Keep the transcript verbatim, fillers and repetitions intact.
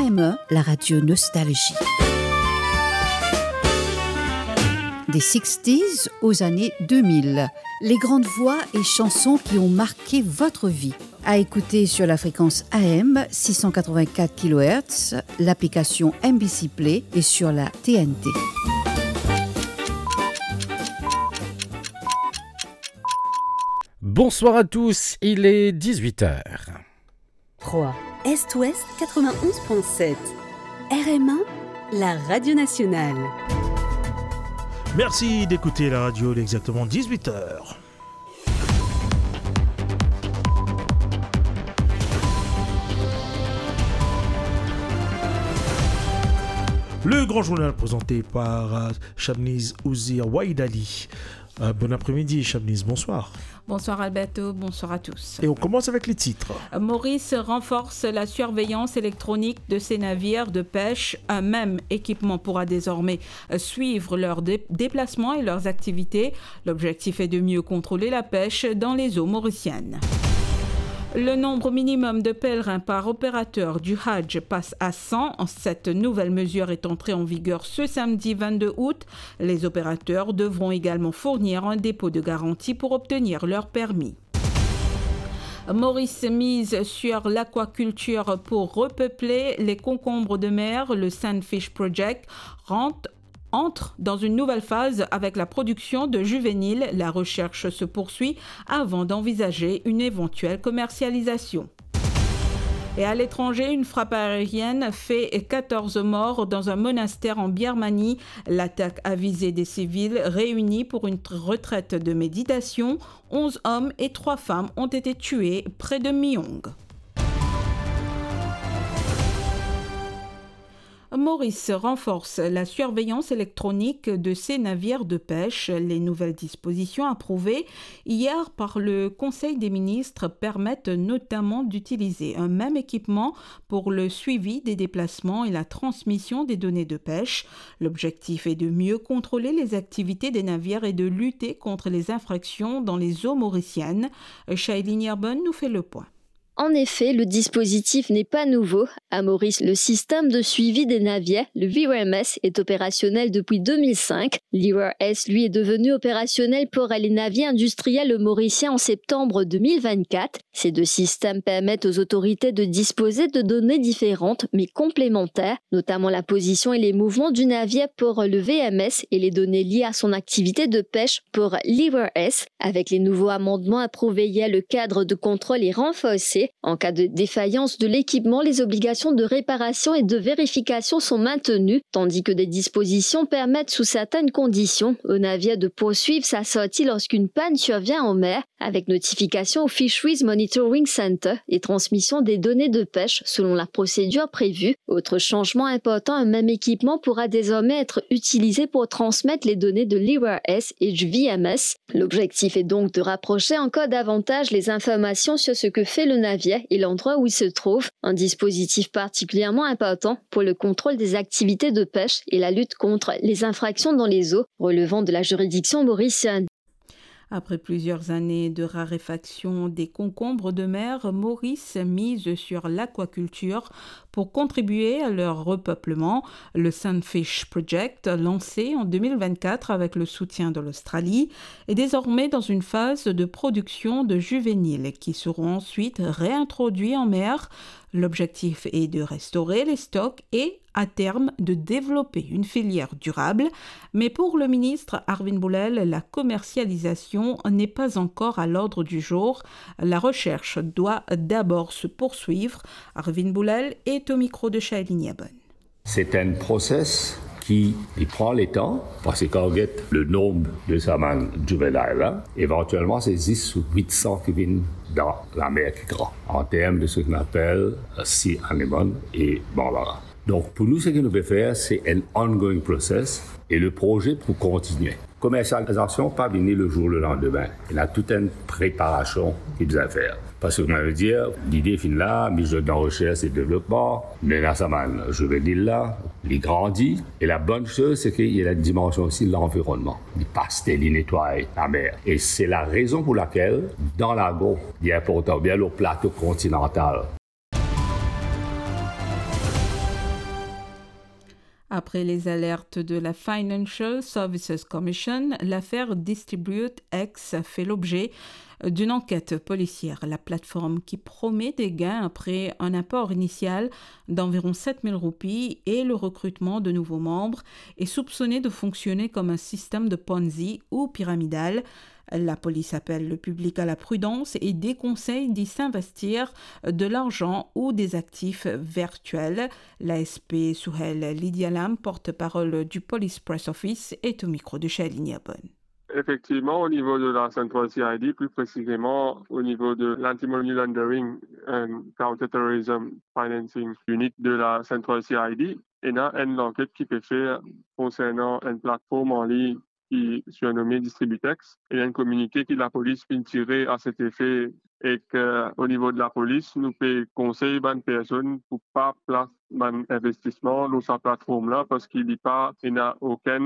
M un, la radio Nostalgie. Des sixties aux années deux mille. Les grandes voix et chansons qui ont marqué votre vie. À écouter sur la fréquence A M six cent quatre-vingt-quatre kilohertz, l'application M B C Play et sur la T N T. Bonsoir à tous, il est dix-huit heures. Troyes, Est-Ouest quatre-vingt-onze point sept. R M un, la radio nationale. Merci d'écouter la radio, il est exactement dix-huit heures. Le grand journal présenté par, euh, Shamniz Ouzir Waïd Ali. Euh, bon après-midi, Shamniz, bonsoir. Bonsoir Alberto, bonsoir à tous. Et on commence avec les titres. Maurice renforce la surveillance électronique de ses navires de pêche. Un même équipement pourra désormais, euh, suivre leurs dé-, déplacements et leurs activités. L'objectif est de mieux contrôler la pêche dans les eaux mauriciennes. Le nombre minimum de pèlerins par opérateur du Hajj passe à cent. Cette nouvelle mesure est entrée en vigueur ce samedi vingt-deux août. Les opérateurs devront également fournir un dépôt de garantie pour obtenir leur permis. Maurice mise sur l'aquaculture pour repeupler les concombres de mer. Le Sandfish Project rentre, entre dans une nouvelle phase avec la production de juvéniles. La recherche se poursuit avant d'envisager une éventuelle commercialisation. Et à l'étranger, une frappe aérienne fait quatorze morts dans un monastère en Birmanie. L'attaque a visé des civils réunis pour une tr-, retraite de méditation. Onze hommes et trois femmes ont été tués près de Myong. Maurice renforce la surveillance électronique de ses navires de pêche. Les nouvelles dispositions approuvées hier par le Conseil des ministres permettent notamment d'utiliser un même équipement pour le suivi des déplacements et la transmission des données de pêche. L'objectif est de mieux contrôler les activités des navires et de lutter contre les infractions dans les eaux mauriciennes. Shailene Yerbon nous fait le point. En effet, le dispositif n'est pas nouveau. À Maurice, le système de suivi des navires, le V R M S, est opérationnel depuis deux mille cinq. L'I R S, lui, est devenu opérationnel pour les navires industriels mauriciens en septembre deux mille vingt-quatre. Ces deux systèmes permettent aux autorités de disposer de données différentes mais complémentaires, notamment la position et les mouvements du navire pour le V M S et les données liées à son activité de pêche pour l'I R S. Avec les nouveaux amendements approuvés hier, le cadre de contrôle est renforcé. En cas de défaillance de l'équipement, les obligations de réparation et de vérification sont maintenues, tandis que des dispositions permettent, sous certaines conditions, au navire de poursuivre sa sortie lorsqu'une panne survient en mer, avec notification au Fisheries Monitoring Center et transmission des données de pêche selon la procédure prévue. Autre changement important, un même équipement pourra désormais être utilisé pour transmettre les données de l'I R S et du V M S. L'objectif est donc de rapprocher encore davantage les informations sur ce que fait le navire et l'endroit où il se trouve, un dispositif particulièrement important pour le contrôle des activités de pêche et la lutte contre les infractions dans les eaux relevant de la juridiction mauricienne. Après plusieurs années de raréfaction des concombres de mer, Maurice mise sur l'aquaculture pour contribuer à leur repeuplement. Le Sandfish Project, lancé en deux mille vingt-quatre avec le soutien de l'Australie, est désormais dans une phase de production de juvéniles qui seront ensuite réintroduits en mer. L'objectif est de restaurer les stocks et, à terme, de développer une filière durable. Mais pour le ministre Arvin Boolell, la commercialisation n'est pas encore à l'ordre du jour. La recherche doit d'abord se poursuivre. Arvin Boolell est au micro de Shailene Yerbon. C'est un process ki, li pran letan, parski kan ou get le nombre de sa bann juvénile la, éventuellement, c'est zis huit cents ki vinn dan lamer ki gran, en termes de ce qu'on appelle, euh, sea anemone et bambara. Donc, pour nous, ce que nous pouvons faire, c'est un ongoing process et le projet pour continuer. Komersializasion pa vini le jour le landime. Ena tou enn preparasion ki bizin fer. Parski, kouma mo dir, lide finn la, mi zot dan rosers e devlopman, nou ena sa bann juvenil la, li grandi, e la bonn soz, se ki ena dimansion osi lanvironnman. Li paste, li netway lamer. E se la rezon pou lakel, dan lago, li inportan, oubien lor plato kontinantal, Après les alertes de la Financial Services Commission, l'affaire Distribute X fait l'objet d'une enquête policière. La plateforme qui promet des gains après un apport initial d'environ sept mille roupies et le recrutement de nouveaux membres est soupçonnée de fonctionner comme un système de Ponzi ou pyramidal. La police appelle le public à la prudence et déconseille d'y s'investir de l'argent ou des actifs virtuels. L'A S P Suhel Lydialam, porte-parole du Police Press Office, est au micro de Charline Abonne. Effectivement, au niveau de la Central C I D, plus précisément au niveau de l'Anti-Money Laundering and Counterterrorism Financing Unit de la Central C I D, ena enn lanket ki pe fer konsernan enn platform an ligne ki sirnome Distributex, e enn kominike ki lapolis finn tire a set efe, ek, euh, o nivo de lapolis, nou pe konsey bann personn pou pa plas bann investisman lor sa platform la, parski li pa ena okenn